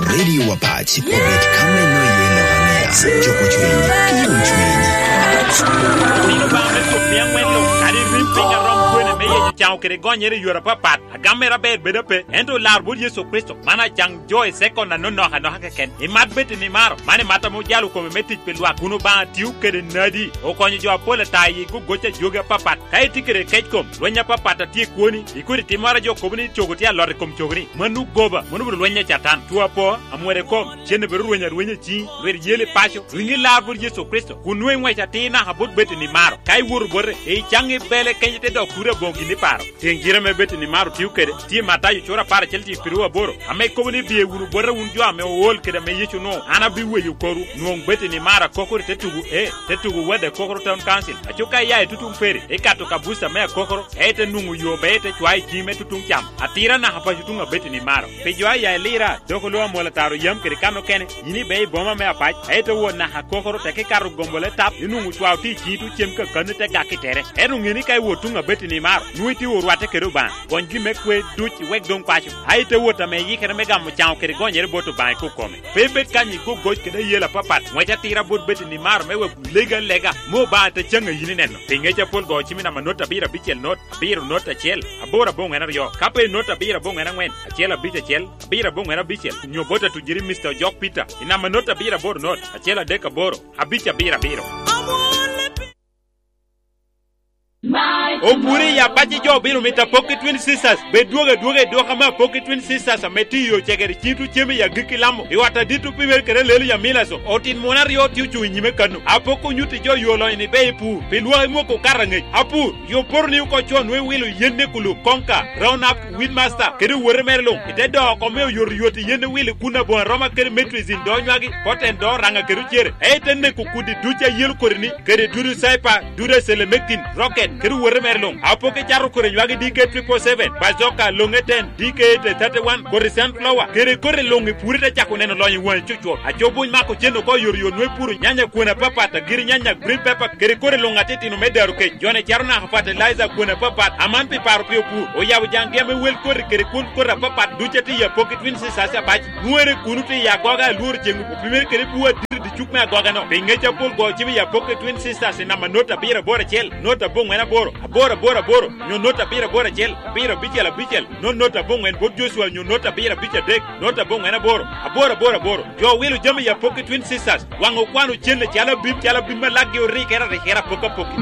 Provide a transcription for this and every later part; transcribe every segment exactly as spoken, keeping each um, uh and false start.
Radio Wapac obed ka meno iye lok anea, joko cwiny, ki yom cwiny. Bino ba me cuk piny aŋwen luŋ, kadi rim piny arom kwene me yeco caŋo kede gonyere i yore apapat. Agam mere aber bedo ape, ento lar bot Yecu Kricito, man acaŋ jo i sekon anonok anoka keken. Imat bed i nimaro, man imat ame ojalo kome me tic pi lwak, kun Obaŋa tio kede nadi, okonyo jo apol ata i gogoc a jogi apapat. Ka itye kede kec kom, lweny apapat a tye i kwoni, ikodi timmoro a jo kobo ni cogo tye alot i kom cogoni, mano goba, mano obedo lweny a Catan. Two apo, amwero i kom, cen obedo rweny arwenya i ciŋi, lwit yel i paco, riŋi lar bot Yecu Kricito, kun nwoŋo iŋwec atir naka bot bed i nimaro. Ka iwoto bote, icaŋ i bele kenyo te dok turi aboŋo gin iparo. Tyeŋ gira ame bed i nimaro tio kede, tye Matayo cura apar acel tye piru aboro, ame kobo ni, "Biye wunu bota wun jo ame ool kede ame Yecu onwoŋo, an abiweyo korwu." Nwoŋ bed i nimaro akokoro i te tugu E, te tugo Wade Akokoro Town Council. Aco ka iya i tutuŋ Peri, ikato ka buca me Akokoro, ka ite nwoŋo yo be ite cwayo i ciŋi me tutuŋ cam. Atira naka paco tuŋ abed i nimaro. Pi jo aya i Lira, dok olo amwol ataro yam kede kan okene, yin ibe i boma me Apac, ka ite wot naka Akokoro, tek ikato gombo le tap, inwoŋo cwao tye i ciŋi tuŋ cem kakano ite gak i tere. Ento ŋe ni ka iwot tuŋ abed i nimaro, nwoŋo itye orwatte kede Obaŋa. Gony gin me kwe duc iwek doŋ paco. A ite wot ame iyikere me gamo caŋo kede gonyere bot Obaŋa i kok kome. Pe ibed kany i gogoc kede ayela apapat, ŋwec atira bot bed i nimaro me wek legi alega, me Obaŋa te caŋ a yin ineno. Pi ŋec apol go cim i namba not abiro abicel not, abiro not acel, aboro aboŋwen aryo. Ka pe i not abiro aboŋwen aŋwen, acel abic acel, abiro aboŋwen abicel, nyo bot atujiri Mister Ojok Peter, i namba not abiro aboro not, acel adek aboro, abic abiro abiro. Opuri ya paci jo obino mito Apoki Twin Sisters. Be dwogo adwoga i dwoka me Apoki Twin Sisters ame tye i yo cegere ciŋ tucem i agikki Lamo, i ot adit opimere kede lelo ya Milaso. Otin mon aryo tye ocuŋ i nyime kano. Apoki onyutti jo yo lonyo ni be i pur, pi lwak imwoko okato aŋec. Apur, yo poto ni oko co nwe wilo yen ne kulub, konka, round up, Weedmaster, kede owote mere luŋ, i te doko oko me oyotoyot i yen owil i kun aboŋo aroma kede metrizin do nywagi, poten do raŋa kede ocere, ento te neko kudi duc a yelo kodi-ni, kede dudu caipa, dudu acelemektin, roket, kede owote mere luŋ. Apoki cato kodi nywagi D K triple seven, bazoka, loŋe ten, D K eight thirty-one, kodi sunflower, kede kodi luŋ i puri te cako neno lonyo i waŋi cucwot. Aco buny mako cen oko oyotoyot nwe puro nyanya kwene apapat, agiri nyanya, green pepper, kede kodi luŋ atitino me daro kec. Jone cato naka fertilizer kwene apapat, aman pi paro pi opur. Oyabo jaŋgi ame wel koti kede kwon koti apapat duc a tye i Apoki Twin Sisters abac. Nwere kuno tye i agoga alworo ceŋ opimere kede bwo adit i dicuk me agogano. Pi ŋec apol go cim i Apoki Twin Sisters i namba not abiro aboro acel, not aboŋwen aboro, aboro aboro aboro, nyo not abiro aboro acel, abiro abicel abicel, not not aboŋwen bot Joshua nyo not abiro abic adek, not aboŋwen aboro, aboro aboro aboro. Jo wilo jami i Apoki Twin Sisters, waŋ okwano cen calo abim, calo abim ma laggi orikere arikere apoki apoki.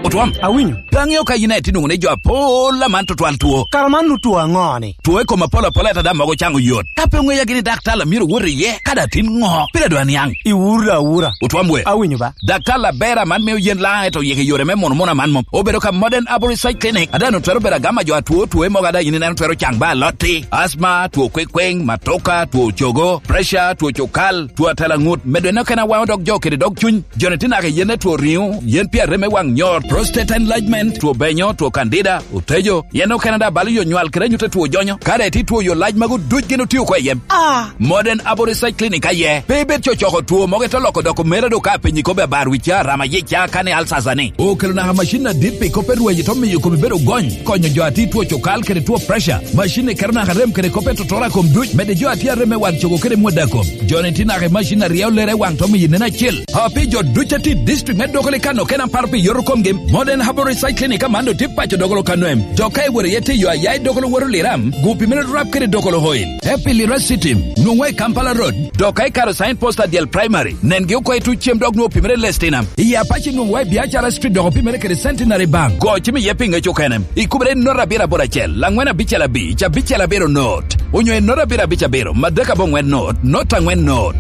Otwom. Awinyo. Pe aŋeo ka yin aye tye nwoŋo ni jo apol aman tutwal two. Kara man nu two aŋo ni? Two i kom apol apol ata daŋ mogo caŋ oyot. Ka pe oŋeya gini daktar a myero wot iye, ka daŋ tin ŋo? Pire dwa niaŋ. Iwura awura. Otwom we. Awinyo ba. Daktar aber aman mio yen laŋ eto yeke yore me mono mono aman mom. Obedo ka Modern Arbour Research Clinic. Ada no twero bedo agama jo atwo two mogo ada yin ineno twero caŋ ba alotti. Asma, two kwekweŋ, matoka, two cogo, pressure, two cokal, two atela ŋut. Medo en okene awaŋo dok jo kede dog cuny. Joni tye naka i yen etwo riŋo, yen pi arem me waŋ nyor, prostate enlargement, two benyo, two candida, otejo. Yen okene da balo yo nywal kede anyut etwo jonyo. Kare ti two yo lac mago duc gin otio oko i yem. Ah! Modern Arbour Research Clinic aye. Pe ibed cocoko two mogo ito loko doko mera do ka penyi kobe abar wica, rama yica, kane alsasa ni. Okelo naka macin adit pi kop erwayi to miyo komi bedo gony. Konyo jo ati two cokal kede two pressure. Macin ni keto naka rem kede kop etotoro a kom duc. Mede jo ati arem me wan cogo kede mwada kom. Joni ti naka i macin a ryeo lere i waŋ to miyo nen acel. Api jo duc a tye i district me Dokolo i Kano kena paro pi yoto komgi, Modern Herbal Research Clinic aman otye paco Dokolo Kano em. Dok ka iwoto iye te yo aya i Dokolo woto Liram, gupi mere rap kede Dokolo Oil. Te pi Lira City, nwoŋwa i Kampala Road, dok ka ikato sign post adyel Primary, nengi oko i tuc cem dok nwoŋo opimere Lestina. I Apac nwoŋwa i Biacara Street dok opimere kede Centenary Bank. Go cim iye pi ŋec okene. Ikubere i not abiro aboro acel, laŋwen abicel abic, abicel abiro not, onyo i not abiro abic abiro, madek aboŋwen not, not aŋwen not.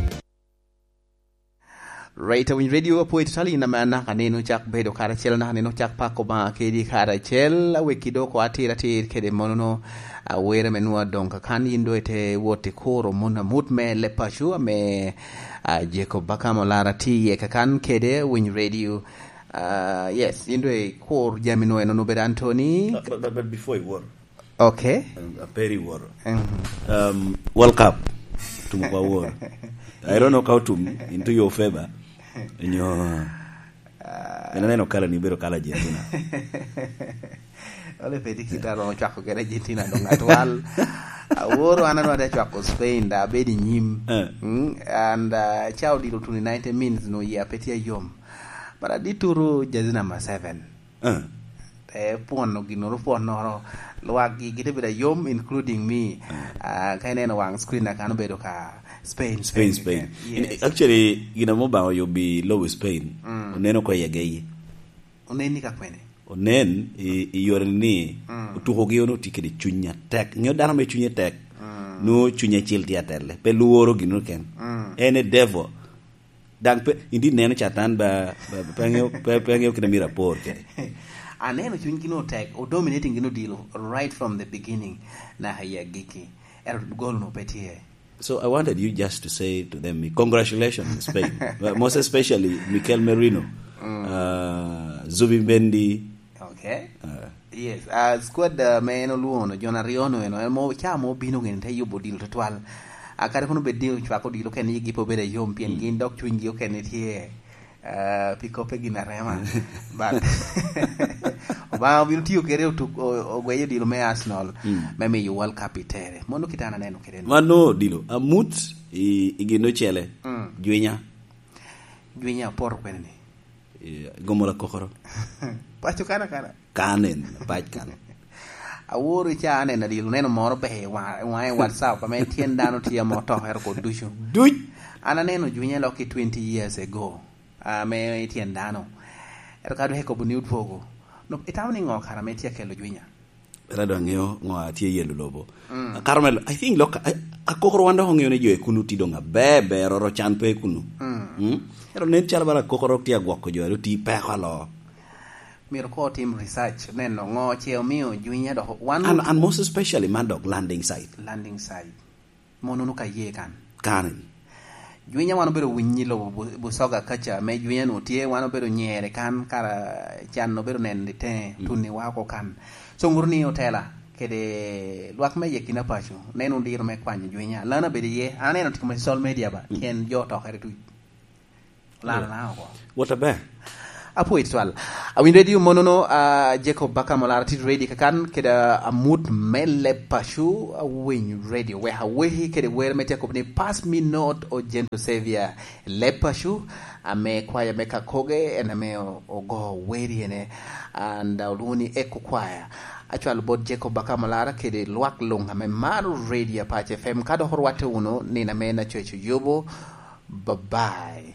Right, Awiny Radio, apwoyo tutwal in ame anaka nino cak bedo karacel, anaka nino cak pako Obaŋa kedi karacel, awekki dok oko atir atir kede monono, awere me nwa doŋ kakan yin do ite wot i kuro mon amut me Lepacu ame, ah, Jacob Bakam Olara tye iye kakan kede Awiny Radio. Ah, yes, yin do i kur jami nwa eno nubed Anthony. But, but, but before you worry, Okay. Um, aperi woro. Mhm. Um, World Cup. Tum kwa woro. I don't know ka otum into your favor. Nyo. Ah. En aneno kala ni bedo kala Argentina. Ole pedi kita ro chwako kede Argentina dong atwal. Aworo an anwate acwako Spain, da abedo i nyim. Eh. Mm, and, uh, ca odilo tuno i ninety minutes, no, yia pe tye yom. But adituru jersey number seven. Eh. Te pwono ginnoro pwonnoro. Lwak gi gite bedo ayom, including me. Eh. Uh, ka ineno wang screen na kan obedo ka Spain, Spain, Spain, Spain. Yes. In, actually, gin amo ba oyo bi lobo Spain. Mm. Oneno ko yege yi. Onen ni ka kwene? Onen i, i yore ni, mm, otukogi ono tye kede cuny atek. Ngeyo dano me cunye tek, mm, nwo cunye acel tye atelle. Pe lworo gin ken. Mm. En e devil. Daŋ pe, indi neno Catan ba, ba, pe ŋeo, pe, pe ŋeo kite myero apor kede. Aneno cuny gin otek, o dominating gin odilo right from the beginning, naka i agikki. Ento gol no pe tye. So I wanted you just to say to them, "Congratulations, Spain." Well, most especially Mikel Merino, mm, uh, Zubi Mendi. Okay. Uh, yes. Uh, squad, uh, me en olwono, jon aryo no eno, en mo, ca mo bino gini te yubo odilo tutwal. Uh, kare kono bed ni ocwako odilo kene, yigi pe obedo ayom, pien, mm, gin dok cwinygi okene tye. Ah, pi koppe gin arema. But Obaŋa obino tiyo kede otuk-, o-, ogweyo odilo me Arsenal, mm, me miyo World Cup i tere. Mano kite an aneno kede ni. Mano odilo. Amut i, i gin ocele. Mm. Jwinya. Jwinya apoto kwene ni. Eh, gomo la kokoro. Paco kana kana. Kanen, pac kan. Aworo i ca aneno odilo, neno moro ber i wa-, i waŋe WhatsApp, ame tyen dano tye ame otokere kod ducu. Duc. An aneno Jwinya lok i twenty years ago. Ame i tyen dano. Ento ka dok ekobo ni odwogo, no, itamo ni ŋo kara ame tye akelo Jwinya? Ela dok aŋeo ŋo a tye yelo lobo. Mm. Kara me, I think lok, a, akokoro wan dok oŋeo ni jo i kunu tye doŋ aber, ber, oro can pe i kunu. Mm. Mm? Ento nen calo bala akokoro tye agwoko jo, ento ti peko alo. Myero ko otim research, neno ŋo ce omio Jwinya dok wan. And, and most especially man dok landing site. Landing site. Monono ka ye kan. Kare. Jwinya wan obedo winyi lobo Bu-, Busoga kaca, me Jwinya nu tye, wan obedo nyere kan, kara can obedo neno i teŋe, mm, tunni wa oko kan. So, ŋuto ni otela, kede lwak me yekina paco, neno diro me kwanyo Jwinya. Lana bedo iye, an aneno tiko me social media ba, mm, tyen jo otokere tuc. Lana, yeah, na oko. What about? Apwoyo twal. Awiny radio monono, ah, Jacob Bakam Olara tye ready kakan, kede, ah, amut me leb paco, awiny radio. Wek aweki kede wer me tye akobo ni, "Pass me not, O Gentle Savior." Leb paco, ame kwaya me Kakoge, en ame o-, ogo weri ene. And, ah, olwongo ni Echo Choir. Acwalo bot Jacob Bakam Olara kede lwak luŋ ame maro radio Apac F M. Ka dok orwatte wunu, nino ame na coco yubo. Bye bye.